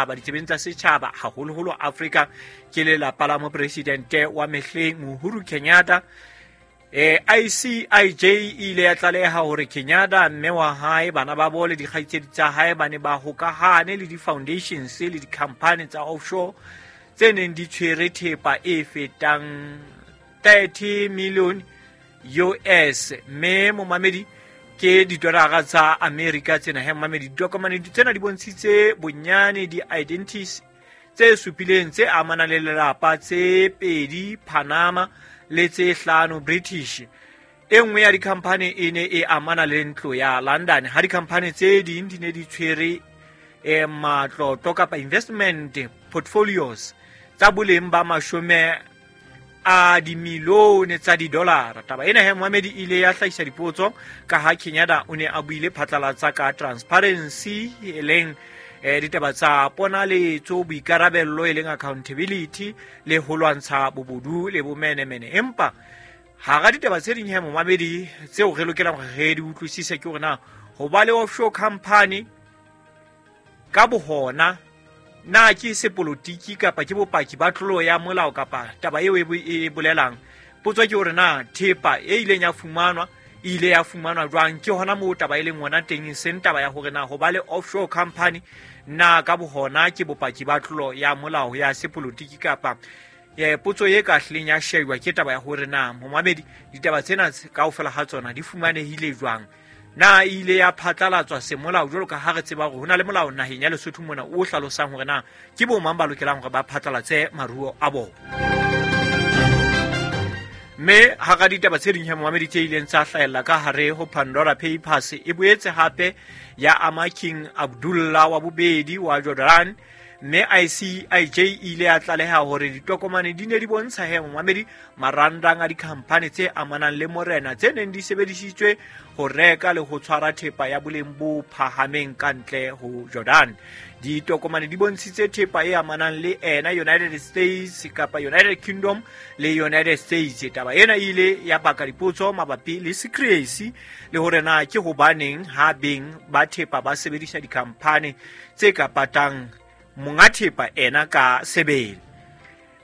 Ditsebeng tsa setjhaba, haholoholo Afrika, ke lelapa la mopresidente wa mehleng Uhuru Kenyatta. ICIJ e ile ya tlaleha hore Kenyatta, mme wa hae, bana ba bo le dikgaitsedi tsa hae ba ne ba hokahane le di-foundations le di-company tsa offshore tse neng di tshwere thepa e fetang 30 million US. Mme momamedi, ke didolara tsa America tsena he momamedi. Ditokomane tsena di bontshitse bonyane di-identities tse supileng tse amanang le lelapa, tse pedi Panama le tse hlano British. E nngwe ya dikhamphane e ne e amana le ntlo ya London, ha dikhamphane tse ding di ne di tshwere matlotlo kapa investment portfolios tsa boleng ba mashome a dimilione tsa didolara. Taba ena he moamedi ile ya hlahisa dipotso ka ha Kenyatta o ne a buile phatlalatsa ka transparency, e leng ditaba tsa ponaletso, boikarabello, e leng accountability, le ho lwantsha bobodu le bomenemene. Empa hara ditaba tse ding he momamedi tseo re lokelang hore re di utlwisise ke hore na ho ba le offshore company ka bohona na ke sepolotiki kapa ke bopaki ba tlolo ya molao kapa taba eo e bolelang. Potso ke hore na thepa e ileng ya fumanwa e ile ya fumanwa jwang. Ke hona moo taba e leng hona teng, seng taba ya hore na ho ba le offshore company na ka bohona ke bopaki ba tlolo ya molao ya sepolotiki kapa potso e ka hlileng ya shejwa ke taba ya hore na momamedi ditaba tsena kaofela ha tsona di fumanehile jwang, na e ile ya phatlalatswa semolao, jwalo ka ha re tseba hore ho na le molao naheng ya Lesotho mona o hlalosang hore na ke bo mang ba lokelang hore ba phatlalatse maruo a bona. Mme hara ditaba tse ding he momamedi tse ileng tsa hlahella ka hare ho Pandora Papers, e boetse hape ya ama King Abdullah wa bobedi wa Jordan. Mme ICIJ e ile ya tlaleha hore ditokomane di ne di bontsha he momamedi marangrang a dikhamphane tse amanang le morena tse neng di sebedisitswe ho reka le ho tshwara thepa ya boleng bo phahameng ka ntle ho Jordan. Ditokomane di bontshitse thepa e amanang le ena United States kapa United Kingdom le United States. Taba ena e ile ya baka dipotso mabapi le secrecy le hore na ke hobaneng ha beng ba thepa ba sebedisa dikhamphane tse ka patang monga thepa ena ka sebele.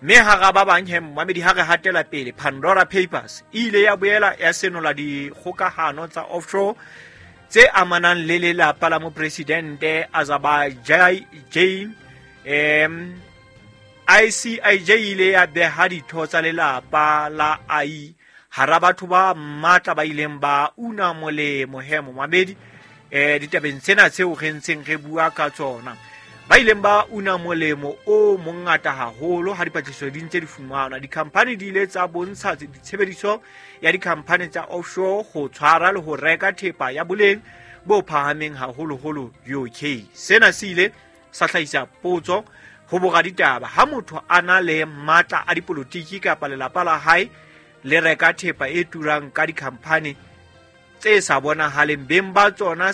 Mme hara ba bang he momamedi, ha re hatela pele, Pandora Papers e ile ya boela ya senola dikgokahano tsa offshore tse amanang le lelapa la mopresidente Azerbaijan. ICIJ ile ya beha ditho tsa lelapa la AI hara batho ba matla ba ileng ba una molemo he momamedi ditabeng tsena tseo re ntseng re bua ka tsona, ba ileng ba una molemo o mongata haholo ha dipatlisiso di ntse di fumanwa. Dikhamphane di ile tsa bontsha ditshebediso ya dikhamphane tsa offshore ho tshwara le ho reka thepa ya boleng bo phahameng, haholoholo UK. Sena se ile sa hlahisa potso ho boraditaba: ha motho a na le matla a dipolotiki kapa lelapa la hae le reka thepa e turang ka dikhamphane tse sa bonahaleng beng ba tsona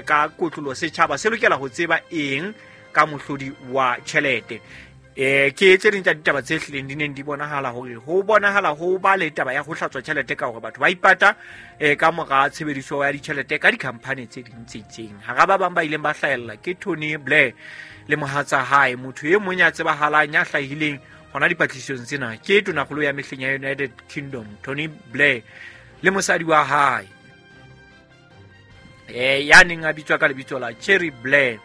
ka kotlolo, setjhaba se lokela ho tseba eng ka mohlodi wa tjhelete? Ke tse ding tsa ditaba tse hlileng di neng di bonahala hore ho bonahala ho ba le taba ya ho hlatswa tjhelete ka hore batho ba ipata ka mora tshebediso ya ditjhelete ka dikhamphane tse ding tse itseng. Hara ba bang ba ileng ba hlahella ke Tony Blair le mohatsa hae. Motho e mong ya tsebahalang ya hlahileng hona dipatlisong tsena ke tonakgolo ya mehleng ya United Kingdom Tony Blair le mosadi wa hae ya neng a bitswa ka lebitso la Cherry Blair.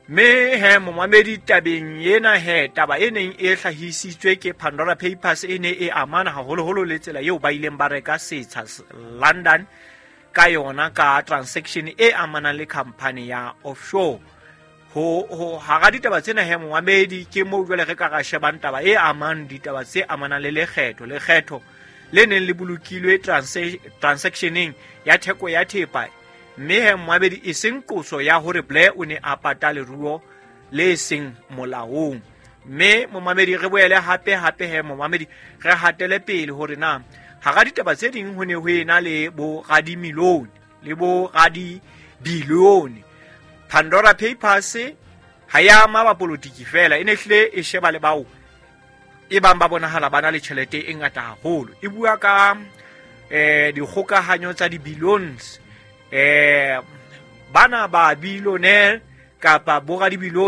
Mme he momamedi, tabeng ena he taba e neng e hlahisitswe ke Pandora Papers e ne e amana haholoholo le tsela eo ba ileng ba reka setsha London ka yona ka transaction e amanang le company ya offshore. Ho hara ditaba tsena he momamedi, ke moo jwale re ka ra shebang taba e amang ditaba tse amanang le lekgetho le neng le bolokilwe transactioneng ya theko ya thepa. Mme he momamedi, e seng qoso ya hore Blair o ne a pata leruo le seng molaong. Mme momamedi, re boele hape hape he momamedi re hatele pele hore na hara ditaba tse ding ho ne ho ena le bo radimilione le bo radibilione. Pandora Papers ha ya ama bapolotiki fela, e ne hlile e sheba le bao e bang ba bonahala ba na le tjhelete e ngata haholo. E bua ka dikgokahanyo tsa di-billions, bana ba billionaire. Kapa boradibilione.